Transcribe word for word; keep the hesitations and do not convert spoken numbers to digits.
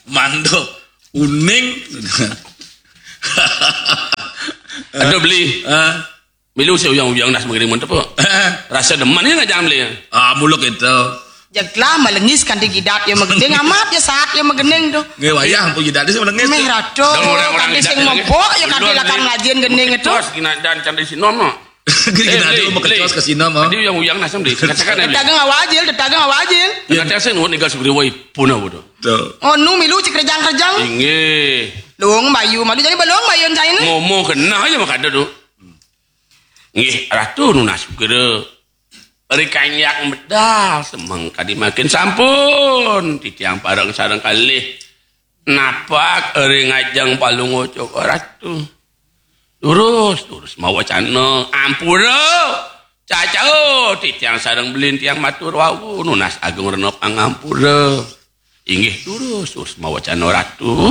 Mantap. Uning. Aduh, beli. Ah. Milu si uyang-uyang nas magending mun tepuk. Rasa demen ya ngajang beli. Ah, muluk itu. Jeglah malengis kanti gidat ya magending amat ya saat ya magending tuh. Nggih wayah ampun gidat sing malengis. Meh ratu Dan orang-orang kanti gidat sing ya. mabok ya kanti Ulun lakar beli. ngajin gending itu. Kecos gina dan candi sinom no. Gini Eh, ada beli, mau kecos beli. ke sini mah. Tadi uyang-uyang nas beli. Katakan ya beli. Tetaga ngawajil, tetaga ngawajil. Nanti saya nuhun tinggal segeri wai punah bodoh. Tuh. Oh nu milu cik rejang-rejang. Inggih. Luung bayu, malu jadi belum bayu cain. Ngomong kena aja maka ada tuh. Nggih, ratu nunas kira. Ari kanyak medal semeng kadi makin sampun titiang pareng sareng kalih napak ari ngajeng palungguh Cokor Ratu. Durus, durus mawacana ampura. Cacau titiang sareng belin tiang matur wau nunas agung rena pangampura. Inggih durus, durus mawacana Ratu.